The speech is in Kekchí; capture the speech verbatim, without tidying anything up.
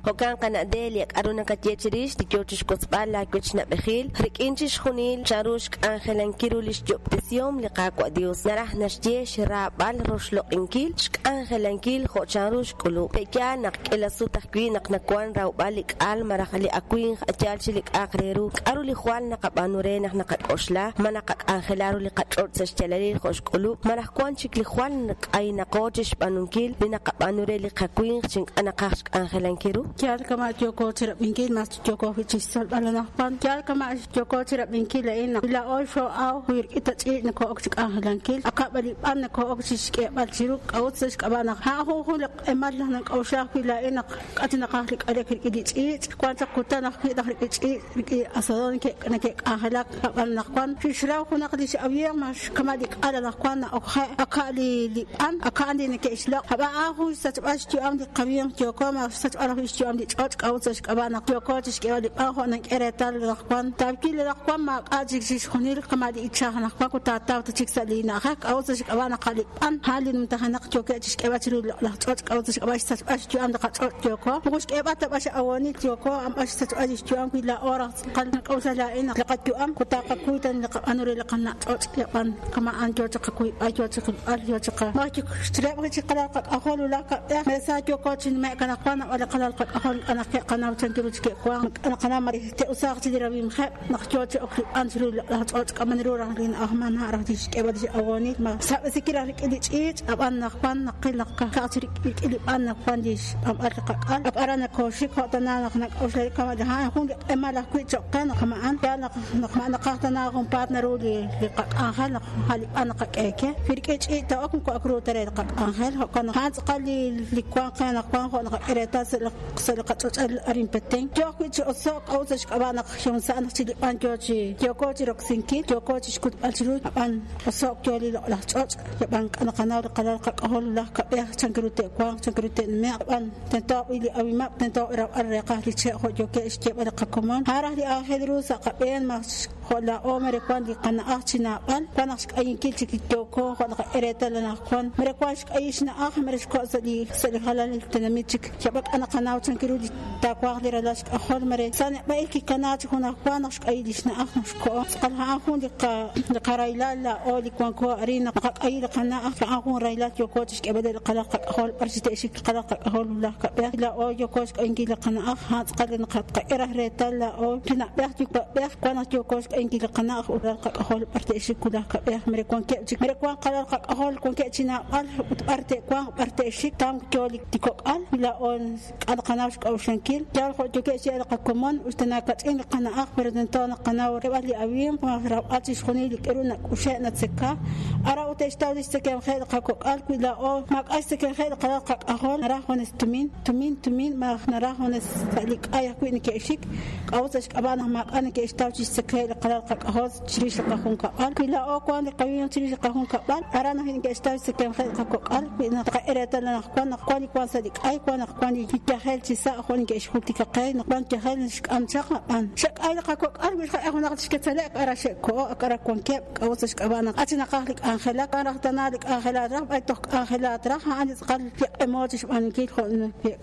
Jo'kan qana' Delia, k'aru nakaye chirix li yo chi xwotzb'al laawechna'b'ejil rik'in chixjunil chanru xk'anjelankil ru li xyob'tesihom li Qaawa' Dios naraj naxye xraab'al roxloq'inkil xk'anjelankil jo' chanru xk'ulub'. Pe'yaal naq k'ila sut ajwi' naq nawank rawb'al li k'al malaj li awimq yaal chi li k'a'aq re ru k'aru li jwal naqab'aanu re naq naqak'oxla ma naqak'anjela ru li qach'och' sa' xyaalalil jo' xk'ulub' malaj wank chik li jwal k'aynaqo chi xb'aanunkil li naqab'aanu re li qawinq chi ink'a' naqaj xk'anjelankil ru. Yaal kama' yooko chi rab'inkil mas yooko ajwi' chi xtzolb'al anaqwan yaal kama' yooko chi rab'inkil a'in naq laa'o xoo'aw wi rik'in ta ch'iich' nakoo'ok chi k'anjelankil akab' li b'an nakoo'ok chi xk'eeb'al chiru k'a'ut sa' xk'ab'a' naq a'an jun jun li q'emal naq nak'a'uxla ajwi' laa'in naq k'a' chi naqaj li k'alek rik'in li ch'iich' wank chaq kutan ajwi' naq rik'in ch'iich' rik'in asadón nake'k'anjelak ab'an anaqwan xixraw junaq li x'awimq mas kama' li k'al anaqwan na'okje' aka' li li b'an aka' li neke'xloq' ab'an a'an jun xsachb'al xyu'am li qawimq yooko mas xsachb'al ajwi' xyu'am li ch'och' k'a'ut sa' xk'ab'a' naq yooko chi xk'eeb'al li b'an jo' nank'e reetal anaqwan taawil anaqwan maak'a' chik chixjunil kama' li ichaj anaqwan ut taataw ta chik sa' li na'ajej k'a'ut sa' xk'ab'a' naq li b'an a'an li numtajenaq yookeb' chi xk'eeb'al chiru li loq'laj ch'och' k'a'ut sa' xk'ab'a' xsachb'al xyu'am li qach'och' yooko moko xk'eeb'al ta b'an x'awonil yooko a'an b'an xsachb'al li xyu'am wi laa'o raj tz'aqal nak'a'uxla laa'in naq li qayu'am ut taqakuy ta li qab'aanu re li qana' ch'och' yab'an kama'an yoo chi qakuyb'al yoo chi qilb'al yoo chi qa maj xchireb' chi qalal qak'ajol wulaj kab'ej meresa yooko chi nume'k anaqwan nab'al li qalal qak'ajol naq ke'qanaw chan ru chi ke'wank naqanaw ma te'usaaq chi li rawimqeb' naq yoo chi ok li b'an chiru li loq'laj ch'och' k'aman ru raj li na'ajman ha' raj li xk'eeb'al li x'awonil ma xsab'esikil raj rik'in li ch'iich' ab'an anaqwan naqil naq ka'aj chi rik'in li b'an naqwan li xb'anb'al li qak'al ak aran nakooxik jo' tana naq nak'a'uxla kama' a'an jun li q'emal ajwi' cho'q qe naq kama'an yaal naq naq ma naqaj tana junpaat naru li li qak'anjel naq a' li b'an naqak'e ke wi rik'in ch'iich' ta'ok moko ak ru ta re li qak'anjel jo'kan naq a'an tz'aqal li li wank qe anaqwan jo' naqak'e reetal sa' li sa' li qach'och'al arin Petén yoo ajwi' chi oso'k k'a'ut sa' xk'ab'a' naq xumsa'an naq chi li b'an yoo chi yooko chi roksinkil yooko chi xkutb'al chiru ab'an oso'k yoo li loq'laj ch'och' yab'an k'a naqanaw li qalal qak'ajol wulaj kab'ej chan ru te'wanq chan ru te'nume'q ab'an tento li awimab' tento rawb'al reeqaj li che' jo' yookeb' xyeeb'al li qakomon a'an raj li aajel ru sa' qab'een mas jo' laa'o mere wank li qana'aj chi naab'al wank naq xk'ayinkil chik yooko jo' naqak'e reetal anaqwan mere wank xk'ayil xna'aj mere xko' sa' li sa' li jalanil tenamit chik yab'an k'a naqanaw chan ru li taawanq li ralal xk'ajol mere sa' neb'a'il kikana chi junajwa naq xk'ayil li xna'aj naq xko'o tz'aqal a'an jun li qa li qaraylal laa'o li wanko arin naq naqak'ayi li qana'aj a'an jun raylal yooko chi xk'eeb'al li qalal qak'ajol b'ar chi te'xik li qalal qak'ajol wulaj kab'ej laa'o yooko xk'ayinkil li qana'aj a'an tz'aqal li naqak'e raj reetal laa'o li na'b'ej yuwa'b'ej wank naq yooko xk'ayinkil li qana'aj ut qalal qak'ajol b'ar te'xik wulaj kab'ej mere wankeb' chik mere wank qalal qak'ajol wankeb' chi naab'al ut b'ar te'wanq b'ar te'xik tam yoo li kok'al laa'o k'a naqanaw xk'a'uxlankil yaal jo' yookeb' xyeeb'al li qakomon us ta nakach'in li qana'aj pero tento naqanaw reb'al li awimq rawb'al chixjunil li k'aru nak'uxe' natzeka ara ut te'xtaw li xtzekemqeb' li qakok'al wi laa'o maak'a' xtzekemqeb' li qalal qak'ajol naraj junes tumin tumin tumin malaj naraj junes sa' li k'ay ajwi' neke'xik k'a'ut sa' xk'ab'a' naq maak'a' neke'xtaw chi xtzekemqeb' li qalal qak'ajol chirix li qajunkab'al wi laa'o wank li qawimq chirix li qajunkab'al aran ajwi' neke'xtaw xtzekemqeb' li qakok'al wi naqak'e reetal anaqwan naq wank li wank sa' li k'ay wank naq wank li yajel chi sa' jo' neke'xjultika qe naq wank yajel xk'am chaq ab'an xe'k'ay li qakok'al wi xqak'e junaq li xketzalek ara xe'ko'o ak ara wankeb' k'a'ut sa' xk'ab'a' naq achi naqaj li k'anjelak wan raj tana li k'anjelat raj b'ay toj k'anjelat raj a'an li tz'aqal li q'emo chi xb'aanunkil jo'